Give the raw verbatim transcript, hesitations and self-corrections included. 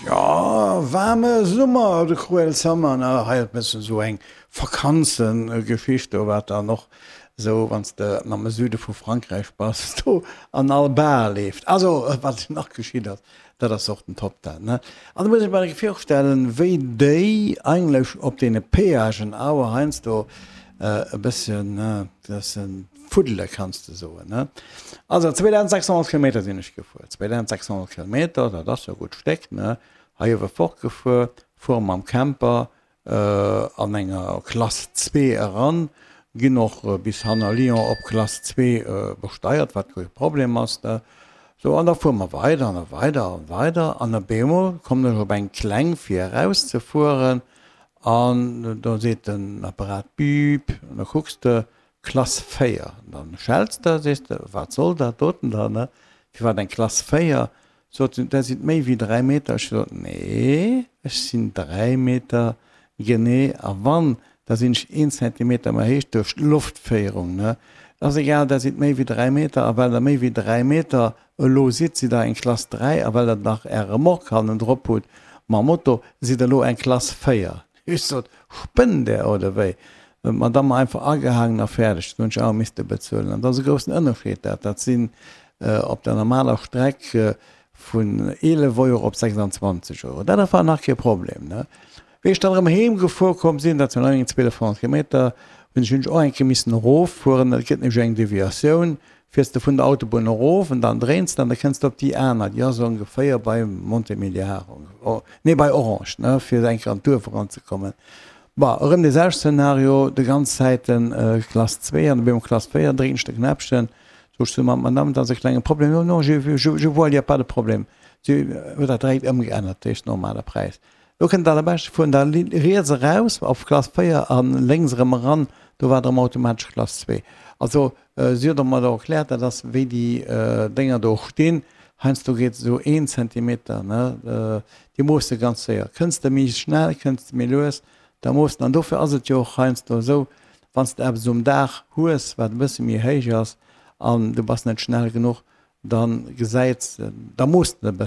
Ja, waarme Summer, de cruel summer, ne? Hei e bëssen esou eng Vakanzengeschicht, do wat dann och esou, wann s de am Süde vu Frankräich bass, do an all Bar leeft. Also, wat nach geschitt ass, dat ass och den Top dat, ne? An da muss ech mer virstellen, wéi déi eigentlech op deene Péagen awer heiansdo e bësschen, ne, bëssen fuddele kanns de soen, ne? Also zweedausendsechshonnert Kilometer sinn ech gefuer, zweedausendsechshonnert Kilometer, dat ass jo e gutt Stéck, ne? Hei uewe fortgefuer, fuere mam Camper an enger Klass zwee eran, ginn och bis hanner Lyon op Klass zwee besteiert, wat kee Problem ass, ne? Sou, an da fuere mer weider an da weider an weider an op eemol kommen ech op eng kleng fir erauszefueren an do seet den Apparat Biip an da kucks de, Klass véier. An dann schells de, sees de, wat soll dat doten da, ne? Firwat eng Klass véier? Sot se, där sidd méi wéi dräi Meter. Ech sot, nee, ech sinn dräi Meter genee a wann, da sinn ech een Zentimeter méi héich duerch d'Loftféierung, ne? Ass egal, där sidd méi wéi dräi Meter a well der méi wéi dräi Meter elo sidd, sidd der eng Klass dräi a well der nach är Remorque hannendrop hutt mam Moto, sidd der elo eng Klass véier. Ech sot, spënnt där oder wéi? D'Madame einfach agehaangen a fäerdeg. Dat hunn ech awer misste bezuelen. An dat ass e groussen Ënnerscheed. Dat, dat sinn op der normaler Streck vun eelef Euro op sechsanzwanzeg Euro. Dat war nach kee Problem, ne? Wéi ech dann erëm heem gefuer komm sinn, dat sinn eng zweelefhonnert Kilometer, hunn ech hunn ech och eng Kéier missen eroffueren. Et gëtt nämlech eng Deviatioun, fiers de vun der Autobunn erof an dann dréins de an da kënns de op déi aner, déi ass ongeféier bei Montémiliard, nee bei Orange, ne, fir eng Kéier an d'Duerf eranzekommen. Bon, erëm dee selwechte Szenario, de ganz Zäiten Klass zwee an op eemol Klass véier, drécken ech de Knäppchen, sot ech zu der Madame, et ass e klenge Problem, non, non, je, je, je vois, il y a pas de problème. Si huet dat direkt ëmgeännert, dat heescht normale Präis. Lo kënnt d'allerbescht, fueren da riets eraus op Klass véier a lénks erëm eran, do war et erëm automatesch Klass zwee. Also si huet mer do erkläert, dat ass wéi déi Dénger do stinn, heiansdo geet esou een Zentimeter, ne, déi moosse ganz séier. Kënns de méi schnell, kënns de méi lues, Da muss den, an dofir ass et jo och heiansdo esou, wann s de eppes um Daach hues, wat e bësse méi héich ass an du bass net schnell genuch, da gesäit, da mooss de e bëssen.